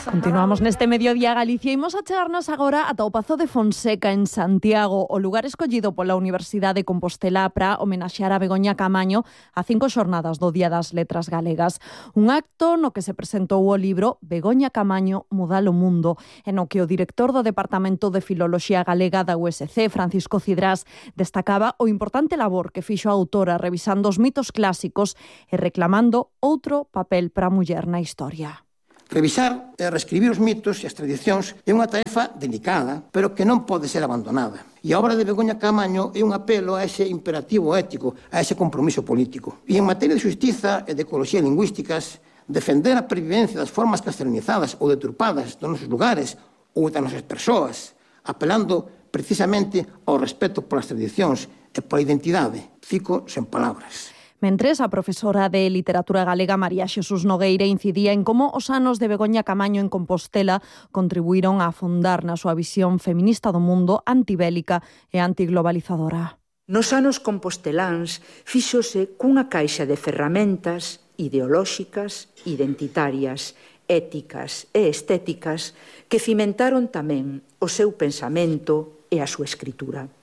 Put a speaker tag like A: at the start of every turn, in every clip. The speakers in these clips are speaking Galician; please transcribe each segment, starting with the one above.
A: Continuamos neste mediodía Galicia. Imos a chegarnos agora ata o Pazo de Fonseca en Santiago, o lugar escollido pola Universidade de Compostela para homenaxear a Begoña Camaño a 5 xornadas do Día das Letras Galegas. Un acto no que se presentou o libro Begoña Camaño, Mudar o Mundo, e no que o director do Departamento de Filoloxía Galega da USC, Francisco Cidrás, destacaba o importante labor que fixo a autora revisando os mitos clásicos e reclamando outro papel para a muller na historia.
B: Revisar e reescribir os mitos e as tradicións é unha tarefa delicada, pero que non pode ser abandonada. E a obra de Begoña Camaño é un apelo a ese imperativo ético, a ese compromiso político. E en materia de xustiza e de ecoloxía lingüísticas, defender a pervivencia das formas castellanizadas ou deturpadas dos nosos lugares ou das nosas persoas, apelando precisamente ao respeto polas tradicións e pola identidade. Fico sen palabras.
A: Mentres, a profesora de Literatura Galega María Xesús Nogueira incidía en como os anos de Begoña Camaño en Compostela contribuíron a afondar na súa visión feminista do mundo, antibélica e antiglobalizadora.
C: Nos anos composteláns fíxose cunha caixa de ferramentas ideolóxicas, identitarias, éticas e estéticas que cimentaron tamén o seu pensamento e a súa escritura.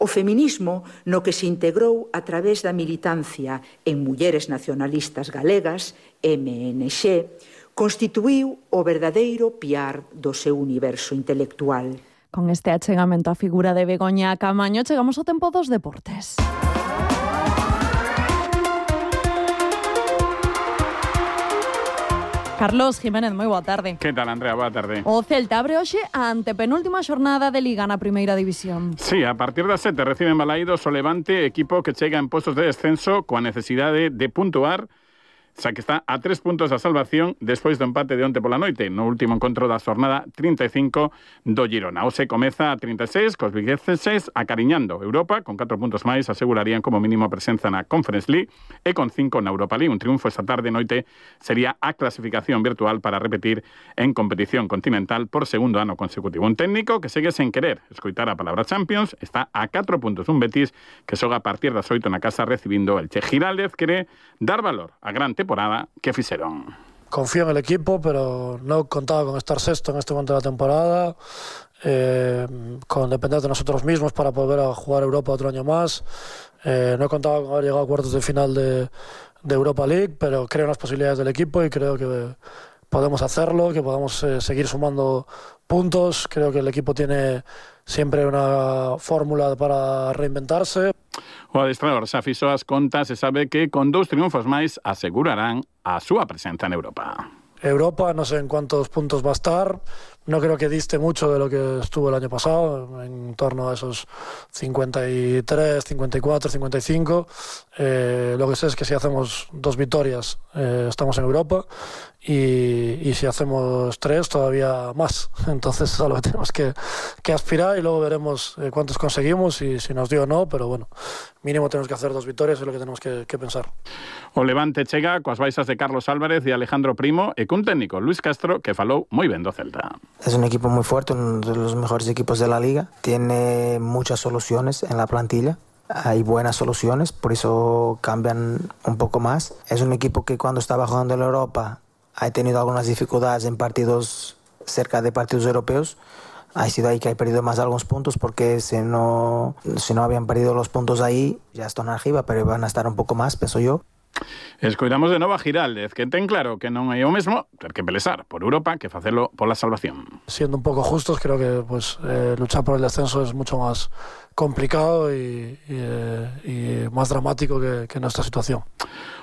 C: O feminismo, no que se integrou a través da militancia en Mulleres Nacionalistas Galegas, MNG, constituíu o verdadeiro piar do seu universo intelectual.
A: Con este achegamento á figura de Begoña Camaño, chegamos ao tempo dos deportes. Carlos Jiménez, moi boa tarde.
D: Que tal, Andrea? Boa tarde.
A: O Celta abre hoxe a antepenúltima xornada de Liga na Primeira División.
D: Sí, a partir das 7 reciben Balaídos o Levante, equipo que chega en postos de descenso coa necesidade de puntuar, xa que está a 3 puntos da salvación despois do empate de onte pola noite, no último encontro da xornada 35 do Girona. Hoxe comeza a 36, cos vigueses acariñando Europa, con 4 puntos máis asegurarían como mínimo a presenza na Conference League e con 5 na Europa League. Un triunfo esta tarde noite sería a clasificación virtual para repetir en competición continental por segundo ano consecutivo. Un técnico que segue sen querer escoitar a palabra Champions, está a 4 puntos un Betis que xoga a partir das 8 na casa recibindo el Che. Giraldez quere dar valor a gran temporada que fixeron.
E: Confío en el equipo, pero no contaba con estar sexto en este momento de la temporada, con depender de nosotros mismos para poder a jugar Europa otro año más. No contaba con haber llegado a cuartos de final de Europa League, pero creo en las posibilidades del equipo y creo que podemos hacerlo, que podemos seguir sumando puntos. Creo que el equipo tiene siempre una fórmula para reinventarse.
D: O adestrador xa fixo as contas e sabe que con 2 triunfos máis asegurarán a súa presenza en Europa.
E: Europa, no sé en cuántos puntos va a estar. No creo que diste mucho de lo que estuvo el año pasado, en torno a esos 53, 54, 55. Lo que sé es que si hacemos 2 victorias estamos en Europa y si hacemos 3 todavía más. Entonces es a lo que tenemos que aspirar y luego veremos cuántos conseguimos y si nos dio o no, pero bueno, mínimo tenemos que hacer 2 victorias, es lo que tenemos que pensar.
D: O Levante chega coas baixas de Carlos Álvarez e Alejandro Primo e cun técnico, Luis Castro, que falou moi ben do Celta.
F: Es un equipo muy fuerte, uno de los mejores equipos de la liga. Tiene muchas soluciones en la plantilla. Hay buenas soluciones, por eso cambian un poco más. Es un equipo que cuando estaba jugando en Europa ha tenido algunas dificultades en partidos cerca de partidos europeos. Ha sido ahí que ha perdido más algunos puntos porque si no habían perdido los puntos ahí, ya están arriba, pero van a estar un poco más, pienso yo.
D: Escoitamos de novo a Giraldez, que ten claro que non é o mesmo ter que pelesar por Europa que facelo pola salvación.
E: Siendo un poco justos, creo que luchar por el descenso es mucho más complicado y más dramático que nuestra situación.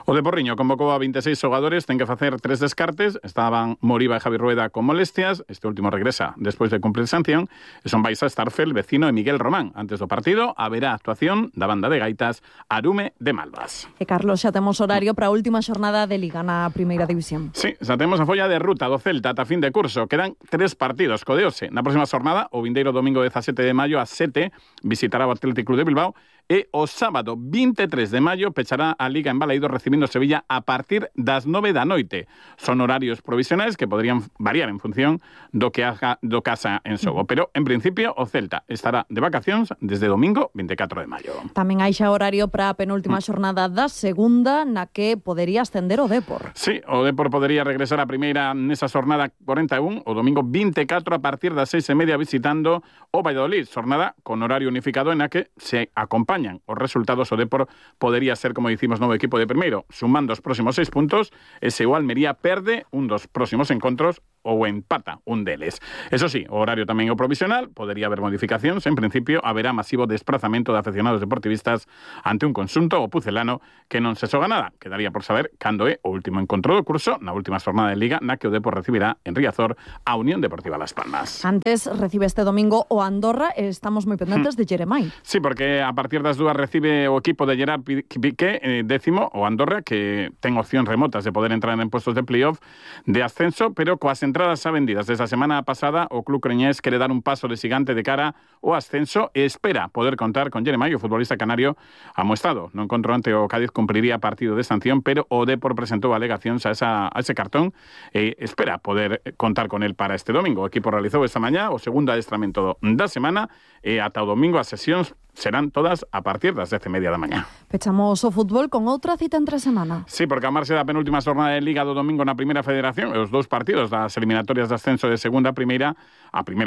D: O de Porriño convocou a 26 xogadores, ten que facer 3 descartes. Estaban Moriba e Javi Rueda con molestias, este último regresa despois de cumplir sanción, e son Baiza, Starfel, Vecino e Miguel Román. Antes do partido haberá actuación da banda de gaitas Arume de Malvas.
A: E Carlos, xa temos horario para a última xornada de Liga na Primeira División.
D: Sí, xa temos a folla de ruta do Celta ata fin de curso. Quedan 3 partidos co de hoxe. Na próxima xornada, o vindeiro domingo 17 de maio a 7, visitará o Atlético Club de Bilbao E o sábado 23 de maio pechará a Liga en Balaídos recibindo Sevilla a partir das 9 da noite. Son horarios provisionais que poderían variar en función do que haga do casa en xogo, pero en principio o Celta estará de vacacións desde domingo 24 de maio.
A: Tamén hai xa horario para a penúltima xornada da segunda, na que podería ascender o Dépor.
D: Sí, o Dépor podería regresar a primeira nesa xornada 41, o domingo 24 a partir das 6:30 visitando o Valladolid, xornada con horario unificado en a que se acompañan os resultados. O Dépor podería ser, como dicimos, novo equipo de primeiro, sumando os próximos 6 puntos, e se o Almería perde un dos próximos encontros ou empata un deles. Eso sí, o horario tamén é provisional, podería haber modificacións. En principio, haberá masivo desplazamento de aficionados deportivistas ante un conxunto o pucelano que non se xoga nada. Quedaría por saber cando é o último encontro do curso, na última xornada de Liga, na que o Dépor recibirá en Riazor a Unión Deportiva Las Palmas.
A: Antes recibe este domingo o Andorra e estamos moi pendentes de Jeremai.
D: Sí, porque a partir das 2 recibe o equipo de Gerard Piqué, décimo, o Andorra, que ten opcións remotas de poder entrar en puestos de playoff de ascenso, pero coas entradas xa vendidas desde a semana pasada, o club creñés quere dar un paso de xigante de cara ao ascenso e espera poder contar con Jeremai, o futbolista canario amoestrado. No encontro ante o Cádiz cumpriría partido de sanción, pero o Dépor presentou alegacións a ese cartón e espera poder contar con el para este domingo. O equipo realizou esta mañá o segundo adestramento da semana e ata o domingo as sesións serán todas a partir das 10:30 da mañá.
A: Pechamos o fútbol con outra cita entre semana.
D: Sí, porque a marxe da penúltima xornada de Liga do domingo na Primeira Federación e os dous partidos das eliminatorias de ascenso de segunda a Primeira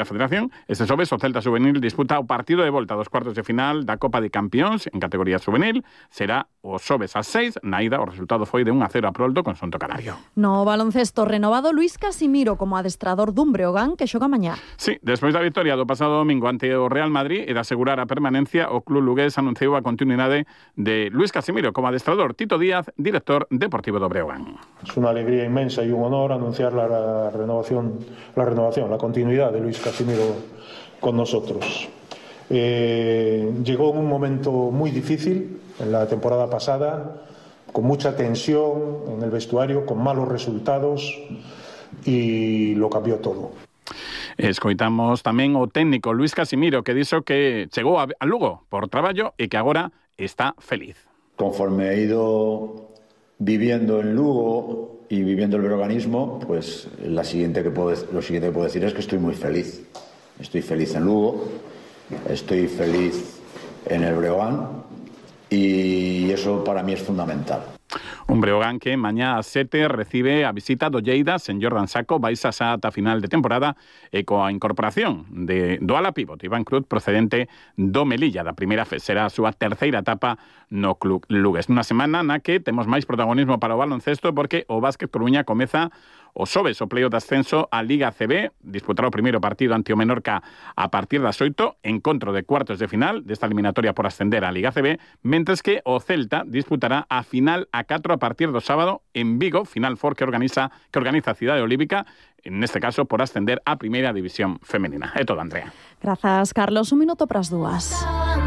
D: Federación, este xoves o Celta Juvenil disputa o partido de volta dos cuartos de final da Copa de Campións en categoría juvenil. Será o xoves ás 6, na ida o resultado foi de 1-0 a prol do conxunto canario.
A: No baloncesto renovado Luís Casimiro como adestrador dun Breogán que xoga mañá.
D: Sí, despois da victoria do pasado domingo ante o Real Madrid e de asegurar a permanencia, o club lugués anunciou a continuidade de Luís Casimiro como adestrador. Tito Díaz, director deportivo do Breogán.
G: Es una alegría inmensa y un honor anunciar la renovación, la continuidad de Luís Casimiro con nosotros. Llegó en un momento muy difícil en la temporada pasada, con mucha tensión en el vestuario, con malos resultados, y lo cambió todo.
D: Escoitamos tamén o técnico Luís Casimiro, que dixo que chegou a Lugo por traballo e que agora está feliz.
H: Conforme he ido viviendo en Lugo y viviendo el breoganismo, pues lo siguiente que puedo decir es que estoy muy feliz. Estoy feliz en Lugo, estoy feliz en el Breogán, y eso para mí es fundamental.
D: Un Breogán que mañá a 7 recibe a visita do Lleida sen Jordan Saco, vais a ata final de temporada e coa incorporación do ala pívot Iván Cruz procedente do Melilla da primeira será a súa terceira etapa no club lugués. Nunha semana na que temos máis protagonismo para o baloncesto porque o Básquet Coruña comeza o xoves o playoff de ascenso a Liga CB, disputará o primeiro partido ante o Menorca a partir das 8, encontro de cuartos de final desta eliminatoria por ascender á Liga CB, mentres que o Celta disputará a final a 4 a partir do sábado en Vigo, Final Four que organiza a Cidade Olímpica, neste caso por ascender á primeira división femenina. É todo, Andrea.
A: Grazas, Carlos. 1 minuto para as 2.